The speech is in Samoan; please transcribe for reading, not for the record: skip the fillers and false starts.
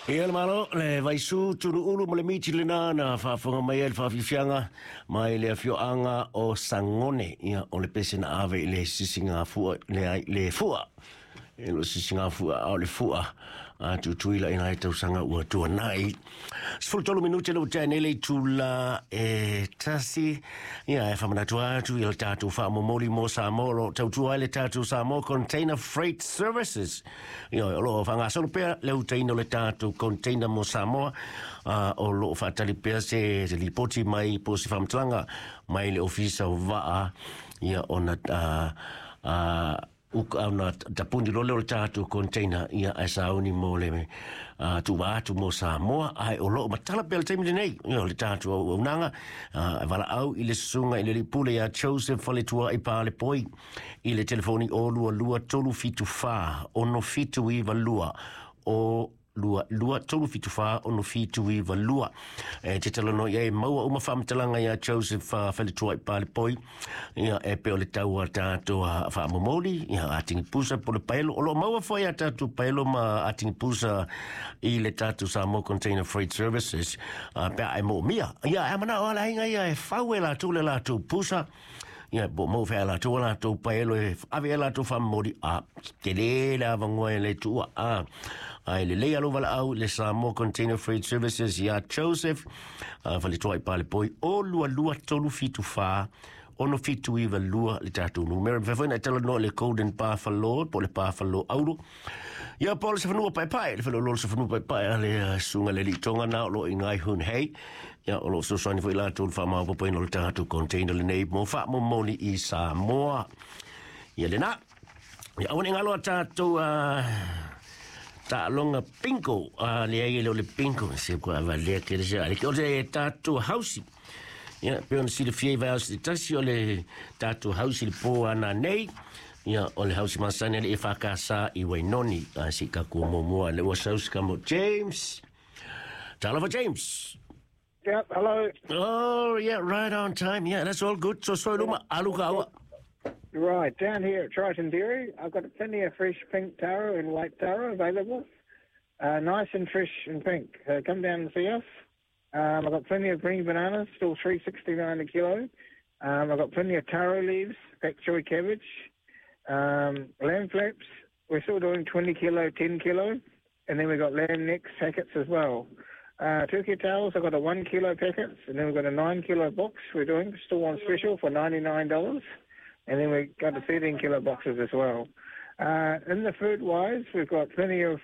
Ia le malo, le Vaisu Tuluulu ma le miti lena na faafofoga mai ai le faafiafiaga mai le afioaga o Sagone. Ia, o le pese na ave i le sisigafua, le, le fua. E le o sisigafua, a o le fua a Tutuila i nai tausaga ua tuanai. 13 minute le ua tea nei le itula e 1. Ia, e faamanatu atu i le tatou faamomoli mo Samoa, o lo o tautua ai le tatou Samoa Container Freight Services. Ia, o lo o faagasolo pea le utaina o le tatou container mo Samoa, o lo o faatali pea se lipoti mai po o se faamatalaga mai le Ofisa o Vaa, ia, ona ona tapuni loa lea o le tatou container, ia, ae sauni mo le tuuva atu mo Samoa, ae o lo o matala pea le taimi lenei. Ia, o le tatou auaunaga e valaau i le susuga i le alii pule ia Joseph Faletuai Palepoi i le telefoni 022 374 6792, o 2 2 3 7 4 6 7 9 2. E te talanoa i ai, maua uma faamatalaga ia Joseph Faletuai Palepoi. Ia, e pe o le tau a tatou faamomoli, ia, atigi pusa po le paelo. O lo o maua foi a tatou paelo ma atigi pusa i le tatou Samoa Container Freight Services, pe a e moomia. Ia, e manao ala aiga ia e fau e latou le latou pusa. Ia, po o maua foi a latou a latou paelo e ave e latou faamomoli, a tele le avanoa e le tuua. A ai lelei alo valaau le Samoa Container Freight Services ia Joseph Faletuai Palepoi, o 22 3 7 4 6 7 9 2 le tatou numera. Mafai foi na e talanoa le Golden Buffalo po o le Buffalo Auro. Ia, po o le safanua paepae, le faleoloa o le safanua paepae a le susuga le alii Tonga na o lo o i ngai Hun Hei. Ia, o lo o fesoasoani foi latou le faamaopoopoina o le tatou container lenei mo faamomoli i Samoa. Ia lena. Ia, aua ne i galo a tatou taaloga bingo. Leai, e le o le bingo, se kua valea tele se ale. O le tatou hausi. Ia, pe ona silafia i vaiaso se tasi o le tatou hausi le pō ana nei. Ia, o le hausi masani a le EFKS i Wainoni. A si ka kua muamua le ua saus ka mo James. Talofa, James. Yep, hello. Oh, yeah, right on time. Yeah, that's all good. So, luma, alu ka aua. Right, down here at Triton Dairy, I've got plenty of fresh pink taro and white taro available. Nice and fresh and pink. So come down and see us. I've got plenty of green bananas, still $3.69 a kilo. I've got plenty of taro leaves, pak choi cabbage, lamb flaps. We're still doing 20 kilo, 10 kilo. And then we've got lamb necks packets as well. Turkey tails, I've got a 1 kilo packets, and then we've got a 9 kilo box we're doing, still on special for $99. And then we've got the 13 kilo boxes as well. In the food wise, we've got plenty of